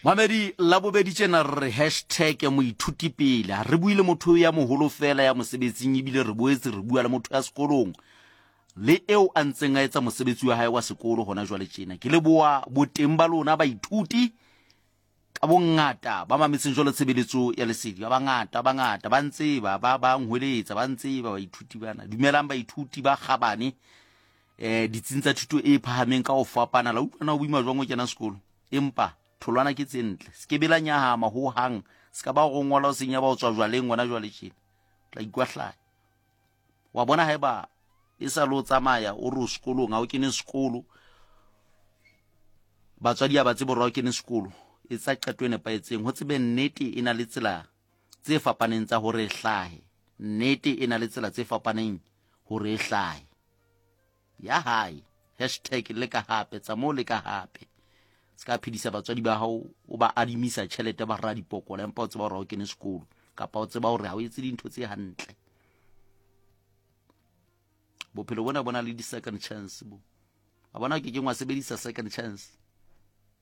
Mamedi, Labobedi tjena re re hashtag moithuti pele. Ha re bue le motho ya moholo feela ya mosebetsing ebile re boetse re bua le motho ya sekolong le eo a ntseng a etsa mosebetsi wa hae wa sekolo hona jwale tjena. Ke leboha boteng ba lona baithuti ka bongata ba mametseng jwalo tshebeletso ya lesedi. Ba bangata, ba bangata ba ntseba, ba ba nhweletsa, ba ntseba baithuti bana. Dumelang baithuti ba kgabane eh ditsing tsa thuto e phahameng ka ho fapana. La utlwa na ho boima jwang ho kena sekolo? Empa tholwana ke tse ntle. Se ke be la nyahama ho hang. Se ka ba go ngola o senya ba o tswa jwaleng ngwana jwale tjena. Tla ikwahlaya. Wa bona haeba e sa le o tsamaya o re o sekolong ha o kene sekolo. Batswadi ha ba tsebe hore ha o kene sekolo. Etsa qeto e nepahetseng. Ho tsebe nnete e na le tsela tse fapaneng tsa hore e hlahe. Nnete e na le tsela tse fapaneng hore e hlahe. Ya hae. Hashtag leka hape, tsa moo leka hape. Se ka phedisa batswadi ba hao o ba adimisa tjhelete ba ra dipokola empa o tseba hore ha o kene sekolo kapa o tseba hore ha o etse dintho tse hantle. Bophelo bona bona le di-second chance bo. A bona ke keng wa sebedisa second chance.